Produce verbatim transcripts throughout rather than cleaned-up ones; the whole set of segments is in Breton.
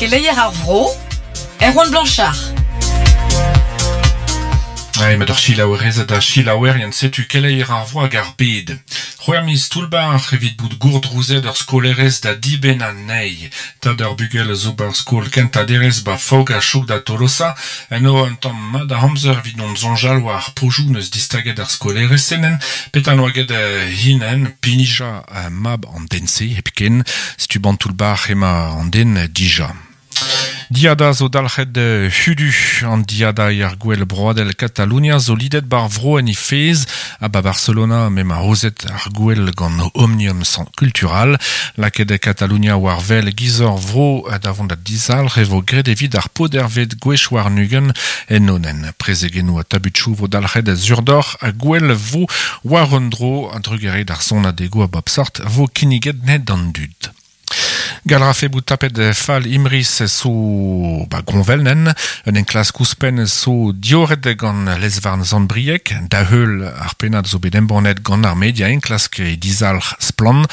Keleier ar vro, Erwan Blanchard. Ai, met ur chilaouerezed a chilaouerien setu keleier ar vro hag ar bed. C'hwec'h miz toullbar evit bout gourdrouzet ur skolerez da dibenn anezhi. Tad ur bugel zo bar skol kentañ ba Faok ha chouk da Tolosa. En o un tamm mat a amzer evit non soñjal war ar pojoù neus distaget ar skolerez senen. Petan oa get hinen pinija mab an den-se hepken. Setu ban toullbar ema an den dija. Diada zo dalc'het hudu an diada ar gwell broadel Katalunia zo lidet bar vro en ifez a ba Barcelona mem a rozet ar gwell gant Omnium Cultural laket Katalunia war vel gizor vro davont da dizal revo gred evit ar podervet gwech war nugen en onen. Prezegenou a tabutchou vo dalc'het a zurdor a gwell vo war un dro a drugere d'ar son adego a bop sort vo kinniget net d'an dud. Galrafe bout tapet fal imris so ba gonvelnen, un enklas kouspen so dioret gant lesvarn zandbriek, da heul ar penad zo bet embannet gant ar media enklask e dizalc'h splan,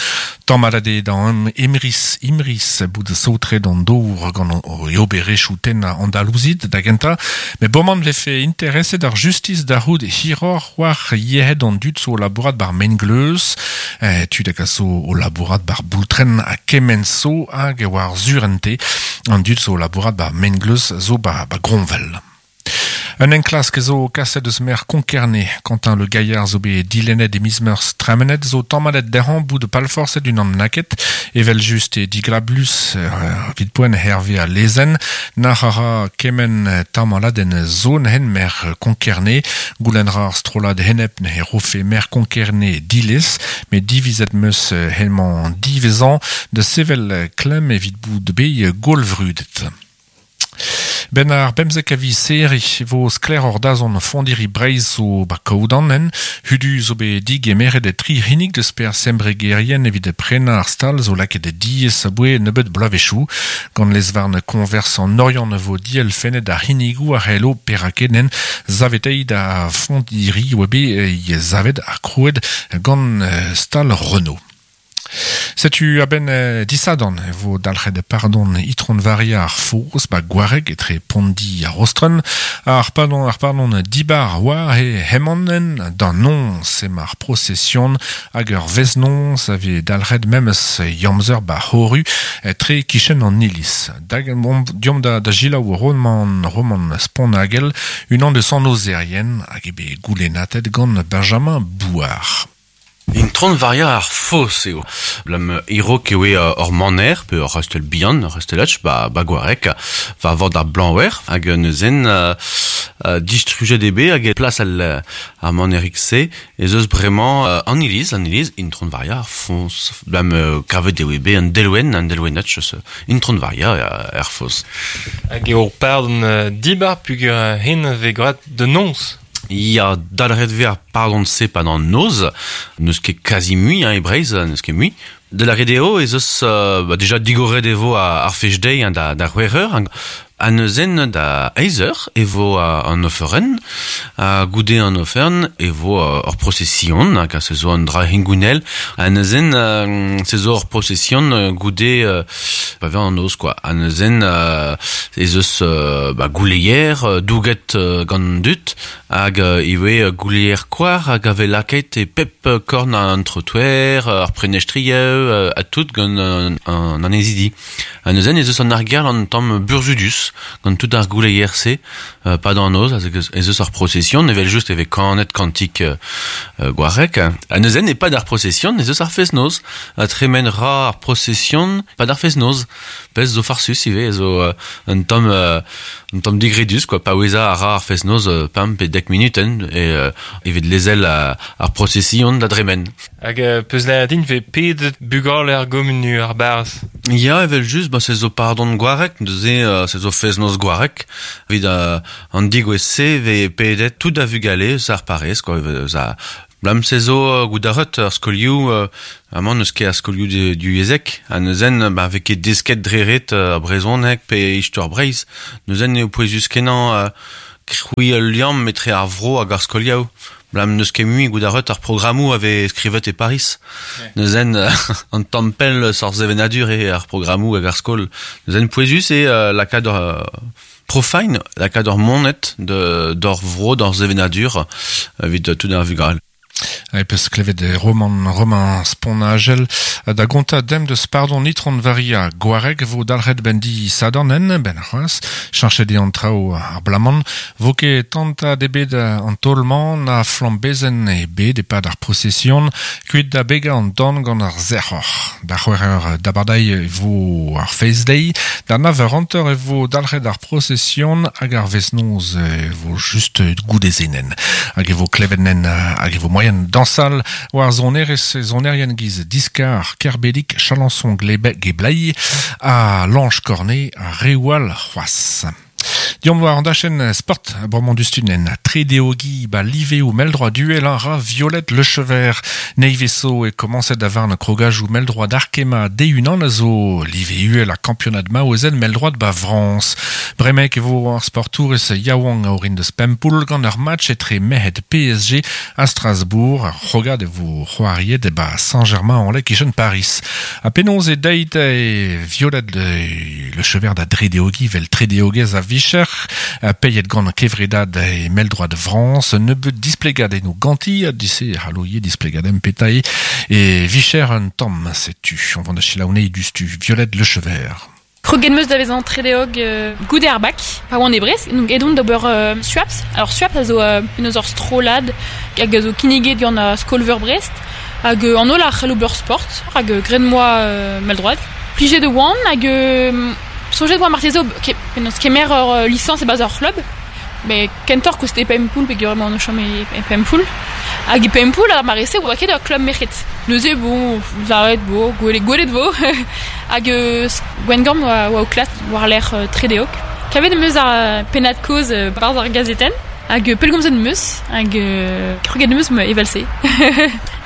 tammalade da imris imris bout saotre d'an dour gant o oberechou ten Andalouzid da genta, me boman vefe intereset ar justice da roud hiror war yehed an dud so labourat bar mengleuz, eh, tud hag a so o labourat bar boultren a kemen so hag war zurente an dud zo labourat ba mengleuz zo ba, ba gronvel. Un enklask zo kaset eus mer Konkerne, Quentin Le Gaillard zo bet dilennet e miz-meurzh tremenet zo tammalet dezhañ bout de palforset un an naket, evel just e diglablus euh, vit poent Hervé a lezen, nac'h a ra kemen tamalad en zon hen mer Konkerne, goulenn ra ar strollad henep ne rofe mer Konkerne dilez, met divizet meus helmañ divezan de sevel klemm evit bout de be golvrudet. Ben ar bemzek a vi seri vo skler ur dazon fondiri breiz zo ba kaoudan en, hudu zo be dig emeret e tri hinnig deus per sembregerien evit prena ar stal zo laket e diez aboe nebeut bloavezhioù, gant lesvarn konvers an Oriant vo diel fenet ar hinnigoù ar hello perakenen zavetei da fondiri oa be zavet ar krouet gant stal Renault. Setu a-benn eh, disadan vo dalc'het pardon itron varia ar foz ba gwareg etre Pondi ar Rostren ar pardon ar pardon dibar war he hemanen d'an non sem ar procession hag ur veznon ave dalc'het memes yamzer ba horu etre kichen an iliz. Dag bon, diom da, da gilaou roman roman sponagel unan de san ozerien hag ebe goulennatet gant Benjamin Bouard. Intron varia ar fos eo. Blam iro eo ur maner, pe ur rastel bihan, ur rastelach, ba, ba gwarek, va vord ar blanwer, hag neuzen uh, uh, distrujet ebe, hag e plas al, ar manerik se, ez eus bremañ uh, an iliz, an iliz, intron varia ar fos. Blam uh, kavet eo ebe an delwen, an delwenach eus intron varia ar fos. Hag eo pardon uh, dibar pugur hen ve gwrat de nons. Ya dalret ver pardon se pa d'an noz, neus ket kazi mui, hein, e Breizh, neus ket mui. De la redeo ez eus euh, bah, déjà digoret evo a, ar fech deiz hein, da, da c'hwec'h eur, a neuzen da eizh eur e vo an oferen, a goude an ofern e vo ur procession, hag a se zo an dra hengounel, a neuzen euh, se zo ur procession goude euh, ba ver an noz quoi, a neuzen euh, ez eus euh, ba, gouleier, douget euh, gant dut, hag euh, iwe gouleier koar hag ave laket e pep korn an trottoir, ar prenestrieu, a tout gant an, an anezidi. A neuzen ez eus an argerl an tamm burzudus, gant tout ar gouleier se, euh, pa d'an noz, ez eus ar procession, evel just eve kanet kantik euh, gwarek. A neuzen e pa d'ar procession, ez eus ar fest-noz. A tremen ra ar procession, pa d'ar fest-noz. Pez zo farsus ive, zo euh, un tamm euh, un tamm digredus, quoi, pa oueza a ra ar fest-noz euh, pam pe dek minuten, e euh, evit lezel a, ar procession da dremen. Hag euh, peus la din ve pedet bugal ar gomunu ar barz. Ya, evel just, ba se zo pardon gwarek, neuze euh, se zo fest-noz gwarek, evit euh, an digouez se ve pedet tout a vugale eus ar parez, quoi, eus a Blam se zo uh, goudaret ar skolioù, euh, amañ neus ket ar skolioù du, du yezek, ha neuzen ba vez ket desket dreret uh, brezhoneg pe istor Breizh, neuzen eo pouezus kenañ uh, kroui ul liamm etre ar vro hag ar skolioù. Blam neus ket mui gout ar ar programmou ave skrivet e Paris. Ouais. Neuzen an tampel sor zevenadur e ar programmou hag ar skol. Neuzen pouezus e euh, lakaat ur euh, profine, lakaat ur monet de d'or vro d'or zevenadur evit tout ar vugale. E peus klevet roman roman sponagel da gonta dem deus pardon nitron varia gwareg vo dalc'het ben di sadarnen ben c'hoaz chanchet an trao ar blaman vo ket tanta debet an tolman na flambezen e bet e pad ar procession kuit da bega an dan gant ar zerc'hor da c'hwec'h dabardai vo ar face day da nav ur e vo dalc'het ar procession hag ar vesnoz e vo just goudezenen hag e vo klevet nen hag e vo moyen dansal war zonerez zonerien giz Diskar, Kerbedik, Chalençon, Glebe, Geblai, a Lange Cornet, a Rewal, c'hoaz. Diom war an dachen sport bremañ dustunen tredeogi ba liveo meldroa duel an ra Violette Lechever neiveso e komanset da varn krogajou meldroa d'Arkema de-unan a zo live uel a kampionad maozen meldroa ba Frans. Bremek e vo ar sportour ez yaouang a orin deus Pempoul gant ur match etre mehed P S G a Strasbourg ar c'hrogad e vo c'hoariet e ba Saint-Germain-en-Laye kichen Paris. A penaos e deit e Violette Lechever da dredeogi vel tredeogez a vicher peiet gant kevredad e meldroa de Frans, nebeut displegad eno ganti, a dise haloie displegad em petae, e vicher un tamm setu. On vend da chilaoune dustu Violette Lechever. Kroget meus da vezañ tredeog euh, goude ar bak, pa oan e Brest, donc edon d'ober euh, Swaps. Alors Swaps a zo euh, eus ur strolad hag a zo kinniget gant a skolveur Brest, hag euh, an holl ar c'hello ober sport, hag euh, graet moa euh, meldroad. Plijet de oan, hag euh, soñjet oa marteze ke, penaos kemer ur euh, licence e bas ur c'hlub, mais kentor koste Pempoul, pe emañ an o chom e, e Pempoul. Hag e Pempoul ar marese oa ket ur klub merc'hed. Neuze, bon, zaret, bo, gwelet, gwelet vo. Hag euh, Gwengamp oa, oa o klas war l'er euh, tredeok. Kavet meus ar pennad koz euh, barz ar gazetenn. Hag euh, pelgomzet meus, hag euh, kroget meus me evel-se.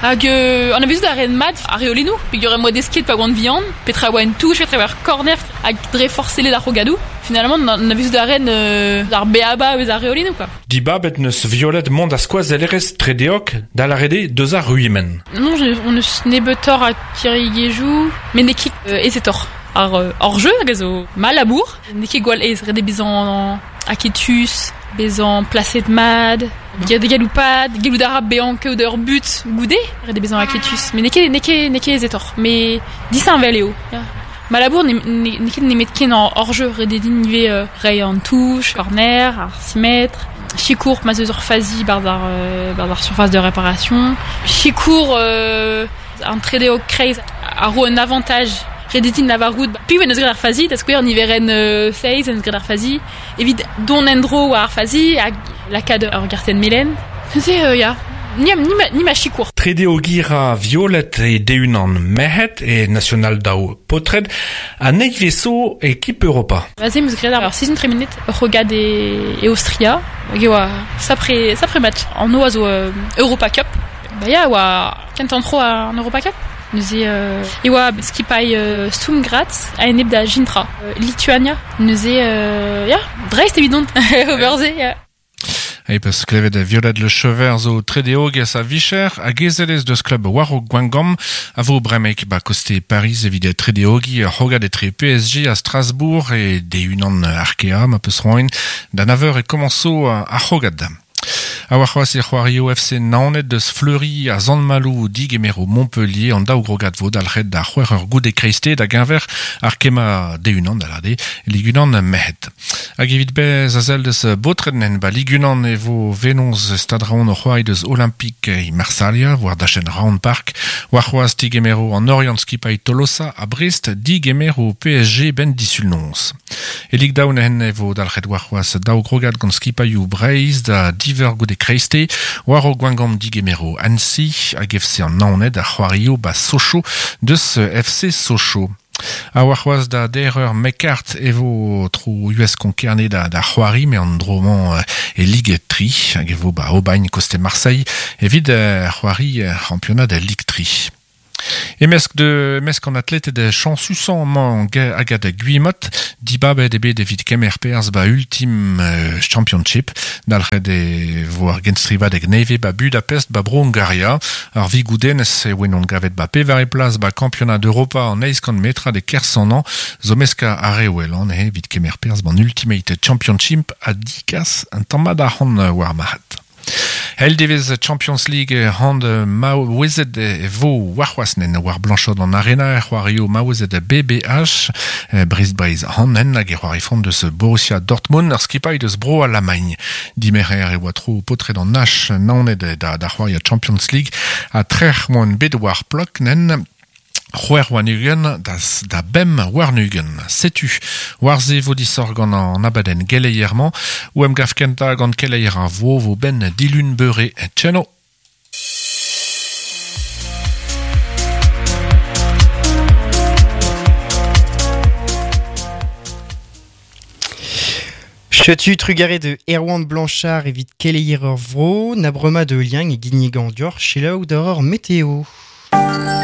Hag euh, an avezout ar ren mat ar reolennoù, peogwir em boa desket pa oan vihan, petra oa en touch, petra oa ar corner, hag dre forcelet ar rogadoù. Finalement, an avezout ar ren euh, ar beaba eus ar reolennoù, quoi. Dibabet neus Violette mont a skoazellerez tredeok da l'arede deus ar ruimen. Non, je, on eus nebeutoc'h a kirigejou, met n'eo ket euh, aezetoc'h. Ar euh, hor jeu hag a zo mal labour, n'eo ket gwall aes, ret eo bezañ aketus, bezañ plaset mad, de galoupad, gellout a ra bezañ kaout ur but goude, ret eo bezañ aketus. Mais n'eo ket, n'eo ket, n'eo ket aezetoc'h, mais disheñvel eo. Ya. Ma labour n'eo ket nemet ken an hor jeu, ret eo din ivez euh, reiñ an touch, corner, ar six mètres, Chikour ma zeus ur fazi barz ar, euh, barz ar surface de réparation. Chikour euh, an tredeog kreiz a ro un avantage ret eo din lavarout piv en eus graet ar fazi, da skouer niverenn euh, seiz en eus graet ar fazi, evit don endro war ar fazi hag lakaat ur gartenn melen. Neuze, euh, ya, ni, ni, ma, ni ma chikour. Tredeogi ra Violette e de-unan merc'hed e National daou potred a neiveso ekip Europa. Aze meus graet ar sizhun tremenet ur c'hrogad e, e Austria, hag e oa sapre, sapre match. An o a zo euh, Europa Cup. Ba ya, oa kentan tro an Europa Cup. Neuze euh, e oa skipailh euh, Sturm Graz a enep da Gintra, euh, Lituania. Neuze euh, ya, dreist evidon, ober se, ya. E peus klevet Violette Lechever zo tredeog a vicher hag ezelez deus klub war o Gwengamp a vo bremek ba koste Paris evit tredeogi c'hrogad etre P S G a Strasbourg e de-unan Arkea ma peus roin da nav eur e komanso ar c'hrogad. A war c'hoaz e c'hoario F C Naoned deus Fleury a Sant-Malo digemero Montpellier an daou grogad vo dalc'het da c'hwec'h ur goude kreiste da geñver ar kema de-unan da lade ligunan merc'hed. Hag evit bez a sell deus baotred ba ligunan e vo venoz stad Raon o c'hoari deus Olympique e Marsalia war dachenn Round Park war c'hoaz digemero an Orient skipailh Tolosa a Brest digemero P S G ben disul noz. E lig daoun hen e vo dalc'het war c'hoaz daou grogad gant skipailhoù Breizh da diver goude kreiste war o Gwengamp digemero Annecy hag F C an Naoned a c'hoario ba Sochaux deus F C Sochaux. A war c'hoaz da der ur mekart e vo tro U S Konkerne da, da c'hoari, me an dromañ e Ligue tri, hag e vo ba Aubagne koste Marseille, evit c'hoari championnat da Ligue tri. E-mesk de mesk an atleted de chansusan man hag ad Guimot, dibabet e bet evit kemer perzh ba ultim euh, championship, dalc'het e vo ar genstrivadeg neve ba Budapest ba bro Hungaria, ar vigoudenez e oen on gavet ba pevar e plas ba kampionat d'Europa an eiz kant metra de kersan an, zo meska ar ewel an e evit kemer perzh ban Ultimate Championship a dikas an tammad ar c'hant war mahat. Hel devez Champions League hand maouezet e vo warc'hoaznen war Blanchot an arena c'hoario maouezet B B H Brest Breiz hanen hag e c'hoari font deus Borussia Dortmund ar skipailh deus bro Allemagne. Dimerer e oa tro potret an H naoned da, da c'hoaria Champions League a trec'h moan bet war plok nen C'hwec'h warn-ugent da, da bemp warn-ugent. Setu, war ze vo disoc'h gant an abadenn geleier-mañ, ou em gav kentañ gant keleier ar vo vo ben dilun beure tcheno. Chetu trugare de Erwan Blanchard evit keleier ur vro, na brema de liang e ginnigan dior, selaou d'ur météo.